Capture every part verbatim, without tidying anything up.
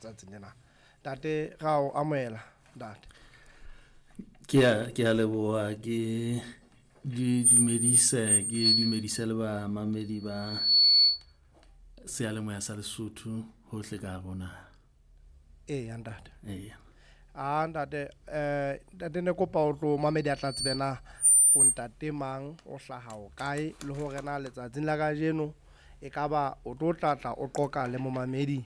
letsatsing lena. Ntate, ra o amohela ntate. Ke a ke a leboha, ke di dumedise ke dumedise le bamamedi ba seyalemoya sa Lesotho hohle ka hare ho naha. Eya ntate. Eya. Ah ntate, eh ntate ne kopa o tlo mamedi a tla tsebe na o ntate mang, o hlaha o kae, le hore na letsatsing la kajeno e kaba o tlo tlatla o qoqa le momamedi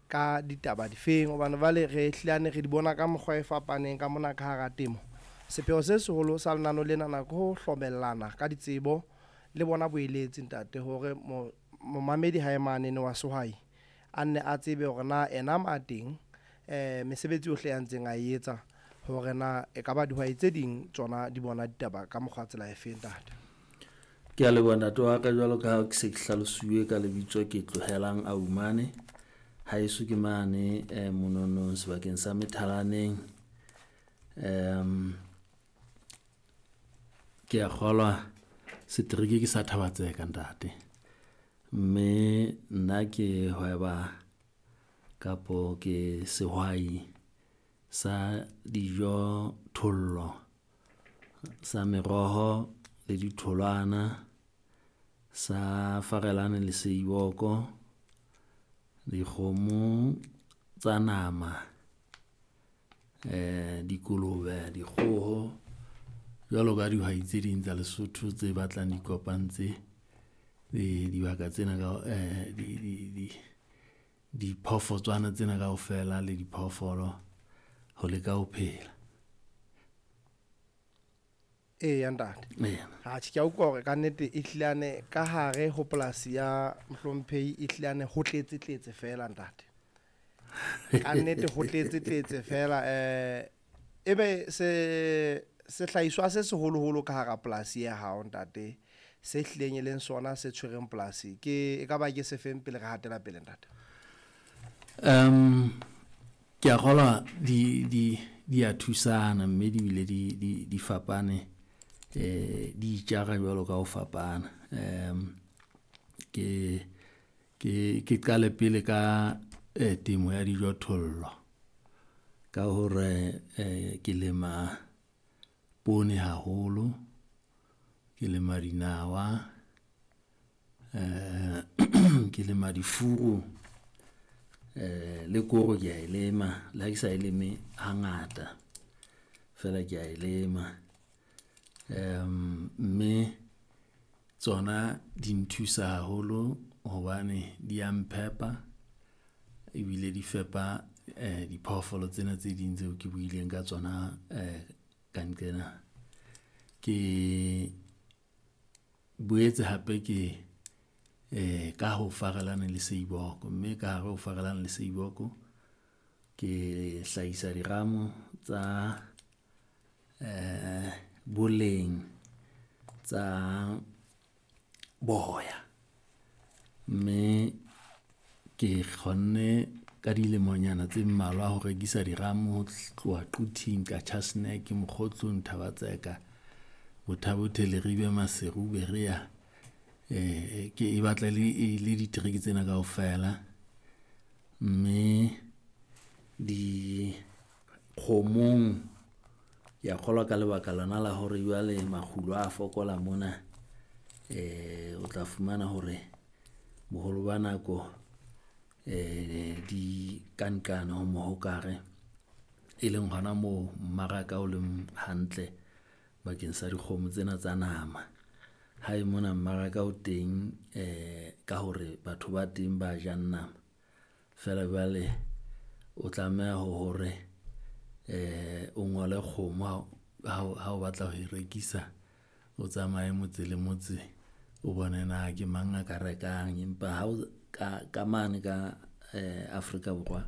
ka ditaba difeng, hobane jwale re hlilane re di bona ka mokgwa e fapaneng ka mona ka hara temo. Sepheo se seholo sa lenano lena na ke ho hlomellana ka ditsebo le bona boeletsi ntate, hore mo momamedi hae manene wa sehwai a nne a tsebe hore na ena ma teng eh mesebetsi yohle ya ntseng a e etsa, hore na e kaba dihwai tse ding tsona di bona ditaba ka mokgwa tsela e feng ntate. Ke a leboha ntate wa ka, jwalo ka ha ke se ke hlalosuwe ka lebitso ke Tlohelang Aumane. Haeso ke mane eh mononong sebakeng sa Methalaneng. Um ke a kgolwa setereke ke sa Thaba-Tseka ntate, mme nna ke hweba kapo ke sehwai sa dijo thollo, sa meroho le ditholwana, sa farelane le seiboko, dikgomo tsa nama, eh dikolobe, dikgoho, jwalo ka dihwai tse ding tsa Lesotho tse batlang di kopantse dibaka tsena ka eh di di di diphoofotswana tsena kaofela le diphoofolo ho leka ho phela. Eya ntate. Eya. Atjhe, ke a utlwa hore kannete e hlilane ka hare ho polasi ya mohlomphehi e hlilane ho tletse tletse fela ntate. Kannete ho tletse tletse fela, eh ebe se sehlahiswa se seholoholo ka hara polasi ya hao ntate, se hlileng e leng sona se tshwereng polasi ke e ka ba ke sefeng pele re hatela pele ntate? Um ke a kgolwa di di di a thusana mme di bile di di di fapane, eh di itjara jwalo ka ho fapana. Um ke ke ke qale pele ka eh temo ya dijothollo ka hore eh ke lema poone haholo, ke lema dinawa, eh ke lema difuru, eh le koro ke a e lema, le ha ke sa e leme hangata, feela ke a e lema. Um mme tsona di nthusa haholo hobane di ya mphepa ebile di fepa eh diphoofolo tsena tse ding tseo ke buileng ka tsona eh ka nqena. Ke boetse hape ke eh ka ho farelane le seiboko, mme ka hare ho farelane le seiboko ke hlahisa diramo tsa eh boleng tsa boya. Mme ke kgonne ka dilemonyana tse mmalwa ho rekisa diramo ho tloha Quthing, Qacha's Nek, Mokgotlong, Thaba-Tseka, Botha-Bothe, Leribe, Maseru, Berea. Eh ke e batla le e le ditereke tsena kaofela, mme dikgomong ke a kgolwa ka lebaka lona la hore jwale makgulo a fokola mona, eh o tla fumana hore boholo ba nako eh di ka nqane ho mohokare, e leng hona moo mmaraka o leng hantle bakeng sa dikgomo tsena tsa nama. Hae mona mmaraka o teng eh ka hore batho ba teng ba jang nama, feela jwale o tlameha hore eh o ngole kgomo ha ha o batla ho e rekisa, o tsamaye motse le motse, o bone na ke mang a ka rekang. Empa ha o ka ka mane ka eh Afrika Borwa,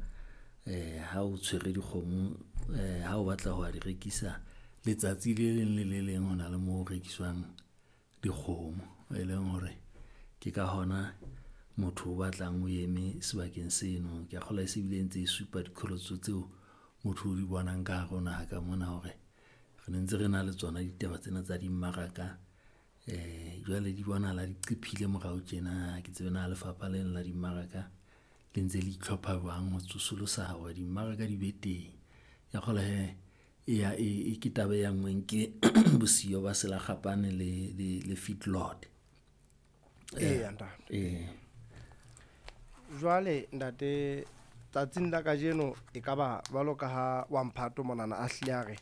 eh ha o tshwere dikgomo, eh ha o batla ho di rekisa letsatsi le leng le le leng ho na le moo ho rekiswang dikgomo, e leng hore ke ka hona motho o batlang o eme sebakeng seno. Ke a kgolwa e se bile ntse e supa diqholotso tseo motho o di bonang ka hare ho naha ka mona hore re ne ntse re na le tsona ditaba tsena tsa dimmaraka. Eh jwale di bonahala di qephile morao tjena, ha ke tsebe na lefapha lena la dimmaraka le le ntse le itlhopha jwang ho tsosolosa hore dimmaraka di be teng. Ke a kgolwa hee e ya e ke taba e anngweng ke bosiyo ba selakgapane le le le feedlot. Eya ntate. Ee. Jwale ntate tsatsing la kajeno e ka ba jwalo ka ha wa mphato monana a hlile a re,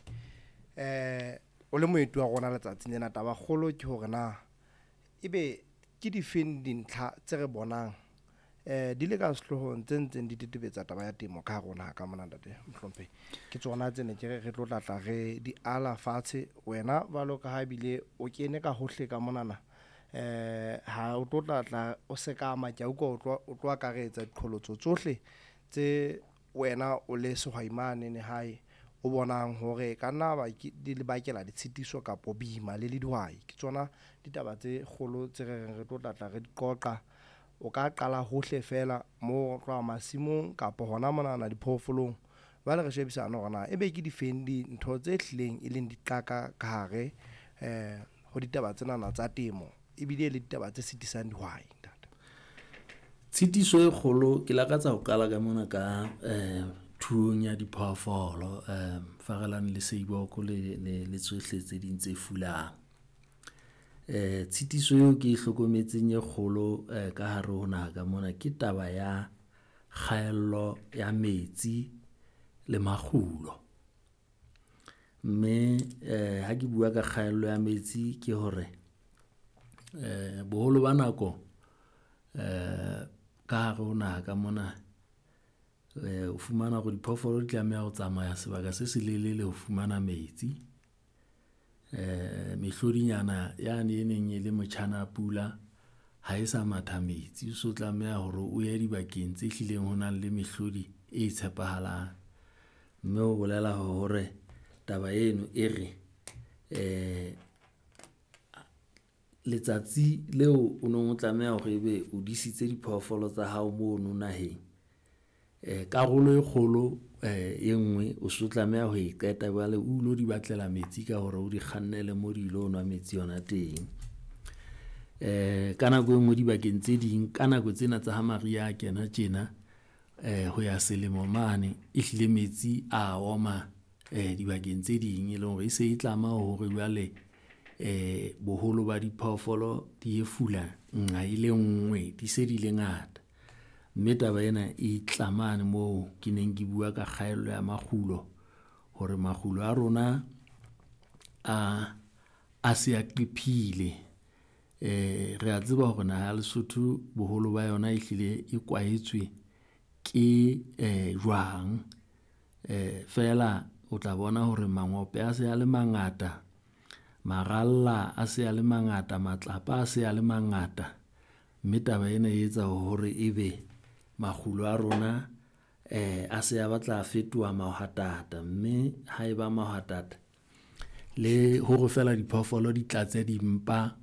eh o le moeti wa rona letsatsing lena taba kgolo ke hore na ebe ke difeng dintlha tse re bonang eh di le ka sehlohong tse ntseng di tetebetsa taba ya temo ka hare ho naha ka mona ntate Mohlomphehi. Ke tsona tse ne ke re re tlo tla tla re di ala fatshe wena jwalo ka ha ebile o kene ka hohle ka monana eh ha o tlo tla tla o sekama ke a utlwa o tlo o tlo akaretsa diqholotso tsohle tse wena o le sehwai mane hae o bonang hore ka nna ba di le bakela ditshitiso kapo boima le le dihwai. Ke tsona ditaba tse kgolo tse re reng re tlo tla tla re di qoqa. O ka qala hohle fela mo tloha masimong kapo hona monana diphoofolong. Jwale re shebisane hore na ebe ke difeng dintho tse hlileng e leng diqaka ka hare eh ho ditaba tsenana tsa temo ebile le ditaba tse sitisang dihwai ntate. Tshitiso e kgolo ke lakatsa ho qala ka mona ka eh thuong ya diphoofolo eh Farelane le Seiboko le le le tsohle tse ding tse fulang. Eh tshitiso eo ke e hlokometseng e kgolo eh ka hare ho naha ka mona ke taba ya kgaello ya metsi le makgulo. Mme eh ha ke bua ka kgaello ya metsi ke hore eh boholo ba nako eh ka hare ho naha ka mona eh o fumana hore diphoofolo di tlameha ho tsamaya sebaka se selelele ho fumana metsi. Eh mehlodinyana yane e neng e le motjhana pula ha e sa matha metsi. O so tlameha hore o ye dibakeng tse hlileng ho nang le mehlodi e tshepahalang. Mme ho bolela hore taba eno e re eh letsatsi leo o nong o tlameha hore ebe o disitse diphoofolo tsa hao mono naheng. Eh karolo e kgolo eh e nngwe o so tlameha ho e qeta jwale o ilo di batlela metsi ka hore o di kgannele mo di ilo nwa metsi hona teng. Eh ka nako e nngwe dibakeng tse ding, ka nako tsena tsa ha mariha a kena tjena, eh ho ya selemo mane, ehlile metsi a oma eh dibakeng tse ding, e leng hore e se e tlama hore jwale eh boholo ba diphoofolo di e fula nqa e le nngwe, di se di le ngata. Mme taba ena e tla mane moo ke neng ke bua ka kgaello ya makgulo hore makgulo a rona a a se a qephile. Eh re a tseba hore naha ya Lesotho boholo ba yona ehlile e kwaetswe ke eh jwang. Eh feela o tla bona hore mangope a se a le mangata, maralla a se a le mangata, matlapa a se a le mangata. Mme taba ena e etsa hore ebe makgulo a rona eh a se a batla a fetoha mahwatata. Mme ha eba mahwatata le hore feela diphoofolo di tlatse dimpa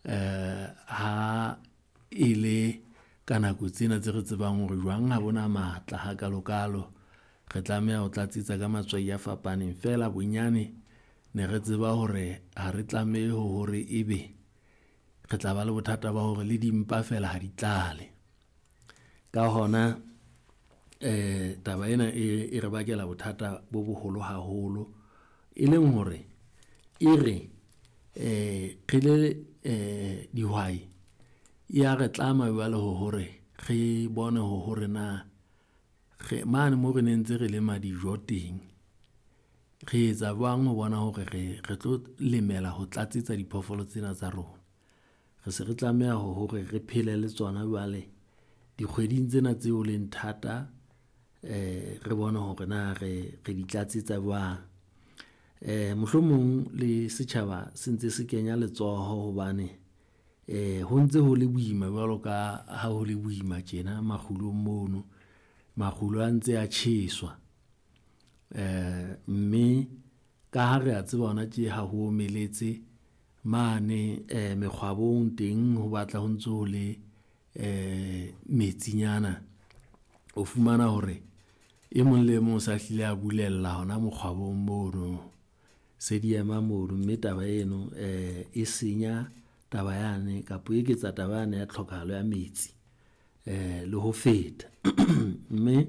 eh ha e le ka nako tsena tse re tsebang hore jwang ha bona matla hakalokalo. Re tlameha ho tlatsetsa ka matswai a fapaneng. Feela bonyane ne re tseba hore ha re tlameha hore ebe re tla ba le bothata ba hore le dimpa feela ha di tlale. Ka hona eh taba ena e e re bakela bothata bo boholo haholo, e leng hore e re eh re le eh dihwai, ya re tlama jwale hore re bone hore na re mane moo re ne ntse re lema dijo teng, re etsa jwang ho bona hore re re tlo lemela ho tlatsetsa diphoofolo tsena tsa rona. Re se re tlameha hore re phele le tsona jwale dikgweding tsena tseo leng thata, eh re bone hore na re re di tlatsetsa jwang. Eh mohlomong le setjhaba se ntse se kenya letsoho hobane eh ho ntse ho le boima jwalo ka ha ho le boima tjena makgulong mono. Makgulo a ntse a tjheswa. Eh mme ka ha re a tseba hona tje ha ho omeletse mane eh mekgwabong teng ho batla ho ntso ho le eh metsinyana. O fumana hore e mong le e mong o sa hlile a bulella hona mokgwabong mono. Se di ema mono, mme taba eno eh e senya taba yane kapa e eketsa taba yane ya tlhokahalo ya metsi. eh le ho feta. Mme